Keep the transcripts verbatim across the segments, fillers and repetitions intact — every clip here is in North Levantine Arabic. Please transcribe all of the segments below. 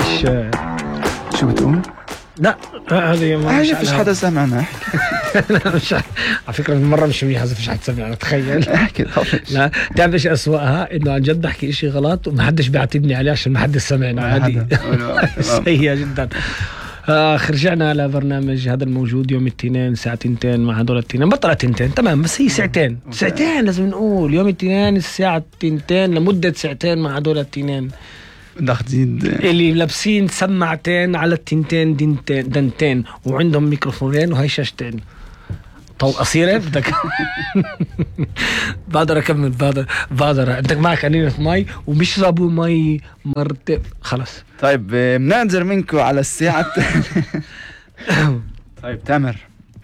مش شو بتقول؟ لا هذه ما مش فيش حدا سمعنا. لا مش على فكرة مرة مش منيحة إذا فيش حد سمعنا تخيل. احكي طبعا. لا تعرف ايش أسوأها؟ إنه عن جد أحكي إشي غلط ومحدش بيعاتبني عليه عشان محدش سمعنا. هذه سيئة جدا. آخ رجعنا على برنامج هذا الموجود يوم الاثنين ساعة تنتين مع هدول التنين. بطلع تنتين تمام بس هي ساعتين ساعتين لازم نقول يوم الاثنين الساعة تنتين لمدة ساعتين مع هدول التنين بدك تزيد اللي لابسين سماعتين على التنتين دنتين دنتين وعندهم ميكروفونين وهي شاشتين. طول قصيرة بدك بقدر أكمل بقدر بقدر عندك معك أنينة مي وبيشربوا مي مرتب خلص. طيب بننظر منكم على الساعة. طيب تامر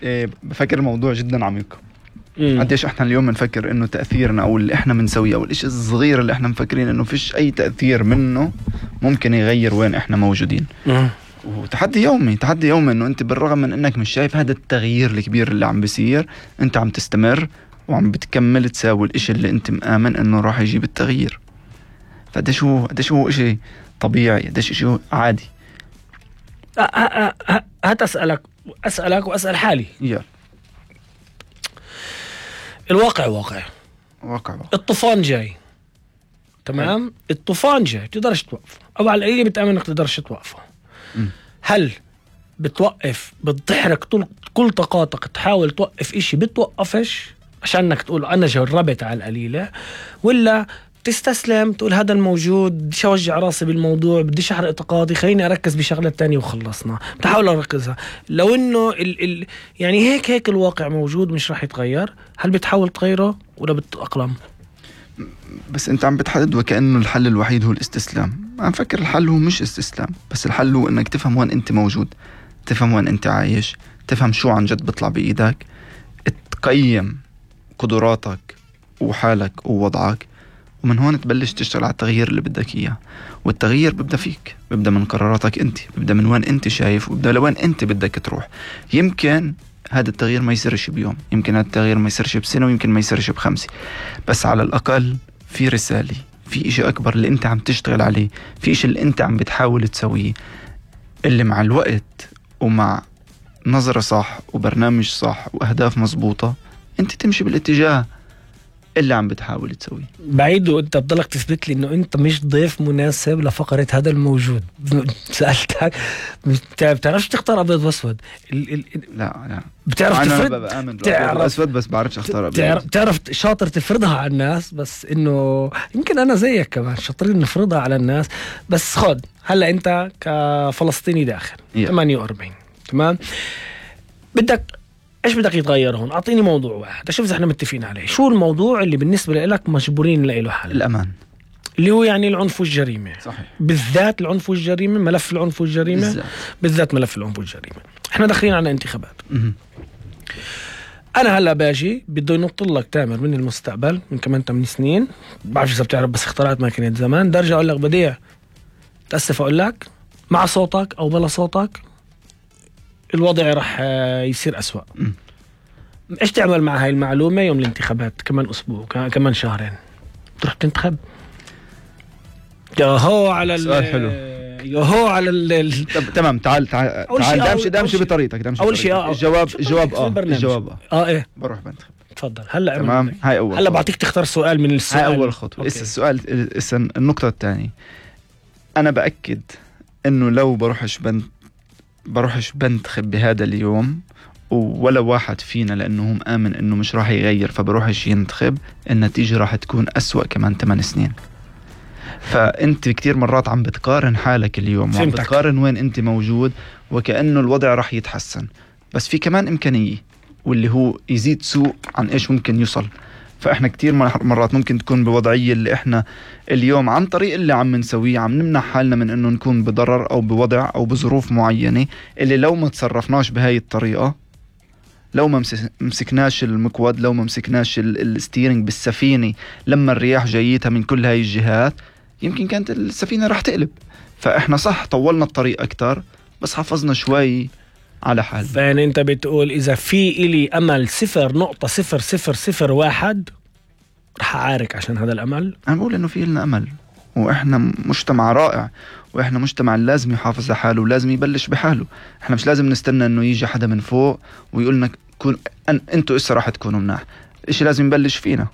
إيه بفكر الموضوع جدا عميق. قديش احنا اليوم بنفكر انه تأثيرنا او اللي احنا بنسويه او الاشي الصغير اللي احنا مفكرين انه فيش اي تأثير منه ممكن يغير وين احنا موجودين. وتحدي يومي تحدي يومي انه انت بالرغم من انك مش شايف هذا التغيير الكبير اللي عم بيصير انت عم تستمر وعم بتكمل تساوي الاشي اللي انت مآمن انه راح يجيب التغيير. فقديش هو قديش هو اشي طبيعي قديش اشي عادي. هات اسألك اسألك واسأل حالي. يلا الواقع واقع واقع واقع. الطوفان جاي تمام. الطوفان جاي تقدرش توقفه او على القليل بتأمن انك تقدرش توقفه. م. هل بتوقف بتحرك كل طاقاتك تحاول توقف اشي بتوقفش عشان انك تقول انا جربت على القليلة ولا تستسلم تقول هذا الموجود بديش اوجع راسي بالموضوع بديش احرق طاقاتي خليني اركز بشغلة تانية وخلصنا بتحاول اركزها لو انه ال ال يعني هيك هيك الواقع موجود مش راح يتغير. هل بتحاول تغيره ولا بتأقلم؟ بس انت عم بتحدد وكأنه الحل الوحيد هو الاستسلام. عم فكر الحل هو مش استسلام بس الحل هو انك تفهم وين انت موجود تفهم وين انت عايش تفهم شو عن جد بيطلع بإيدك تقيم قدراتك وحالك ووضعك ومن هون تبلش تشتغل على التغيير اللي بدك إياه. والتغيير ببدأ فيك ببدأ من قراراتك انت ببدأ من وين انت شايف وببدأ لوين انت بدك تروح. يمكن هذا التغيير ما يصيرش بيوم يمكن هذا التغيير ما يصيرش بسنة ويمكن ما يصيرش بخمسة بس على الأقل في رسالة في إشي أكبر اللي انت عم تشتغل عليه في إشي اللي انت عم بتحاول تسويه اللي مع الوقت ومع نظرة صح وبرنامج صح وأهداف مزبوطة انت تمشي بالاتجاه اللي عم بتحاول تسويه. بعيد وانت بضلك تثبت لي انه انت مش ضيف مناسب لفقرة هذا الموجود. سألتك بتعرفش تختار ابيض واسود. ال ال لا لا بتعرف أنا تفرد بآمن بالابيض والاسود بس بعرفش اختار ابيض. تعرف, تعرف شاطر تفرضها على الناس بس انه يمكن انا زيك كمان شاطرين نفرضها على الناس بس خد هلا انت كفلسطيني داخل yeah. ثمانية وأربعين تمام بدك ايش بدك يتغير هون؟ اعطيني موضوع واحد اشوف اذا احنا متفقين عليه. شو الموضوع اللي بالنسبه لك مجبورين نلاقي له حل؟ الامان اللي هو يعني العنف والجريمه. صحيح. بالذات العنف والجريمه ملف العنف والجريمه بالذات, بالذات ملف العنف والجريمه. احنا داخلين على انتخابات. م- انا هلا باجي بده ينط لك تامر من المستقبل من كمان ثمان سنين بعرفش اذا بتعرف بس اخترعت ماكينه زمان درجه اقول لك بديع تاسف اقول لك مع صوتك او بلا صوتك الوضع رح يصير أسوأ. م. إيش تعمل مع هاي المعلومة يوم الانتخابات كمان أسبوع كمان شهرين تروح تنتخب؟ ياهو على سؤال حلو. ياهو على ال تمام تعال تعال تعال دامشي دامشي بطريقتك دامشي أول شيء آه الجواب الجواب آه الجواب آه آه إيه بروح بنتخب. تفضل هلا تمام هاي أول هلا بعطيك تختار سؤال من السؤال هاي أول خطوة. إسا السؤال إسا النقطة الثانية أنا بأكد إنه لو بروحش بنت بروحش بنتخب بهذا اليوم ولا واحد فينا لأنه هم آمن إنه مش راح يغير فبروحش ينتخب النتيجة راح تكون أسوأ كمان ثمان سنين. فأنت كتير مرات عم بتقارن حالك اليوم وعم بتقارن وين أنت موجود وكأنه الوضع راح يتحسن بس في كمان إمكانية واللي هو يزيد سوء عن إيش ممكن يوصل. فإحنا كتير مرات ممكن تكون بوضعية اللي إحنا اليوم عن طريق اللي عم نسويه عم نمنع حالنا من إنه نكون بضرر أو بوضع أو بظروف معينة اللي لو ما تصرفناش بهاي الطريقة لو ما مسكناش المكود لو ما مسكناش الستيرنج بالسفينة لما الرياح جايتها من كل هاي الجهات يمكن كانت السفينة رح تقلب. فإحنا صح طولنا الطريق أكتر بس حافظنا شوي على حال. فأنا أنت بتقول إذا في إلي أمل صفر نقطة صفر صفر صفر واحد رح أعارك عشان هذا الأمل. أنا بقول إنه في لنا أمل وإحنا مجتمع رائع، وإحنا مجتمع لازم يحافظ على حاله ولازم يبلش بحاله. إحنا مش لازم نستنى إنه يجي حدا من فوق ويقولنا كون أن أنتوا إسا راح تكونوا مناح. إيش لازم يبلش فينا،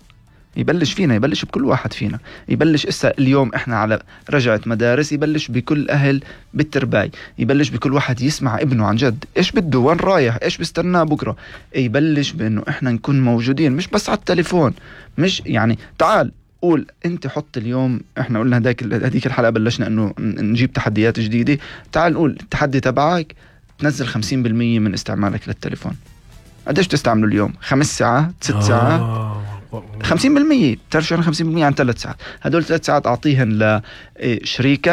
يبلش فينا، يبلش بكل واحد فينا. يبلش إسا اليوم إحنا على رجعة مدارس، يبلش بكل أهل بالترباي، يبلش بكل واحد يسمع ابنه عن جد إيش بده، وين رايح، إيش بيستناه بكرة. يبلش بأنه إحنا نكون موجودين، مش بس على التليفون. مش يعني تعال قول أنت حط اليوم، إحنا قلنا هداك هديك الحلقة بلشنا إنه نجيب تحديات جديدة. تعال نقول التحدي تبعك تنزل خمسين بالمية من استعمالك للتليفون. قديش تستعمله اليوم؟ خمس ساعات، ست ساعات؟ خمسين بالمية. بتعرف شو يعني خمسين بالمية عن ثلاث ساعات؟ هدول ثلاث ساعات أعطيهن لشريكة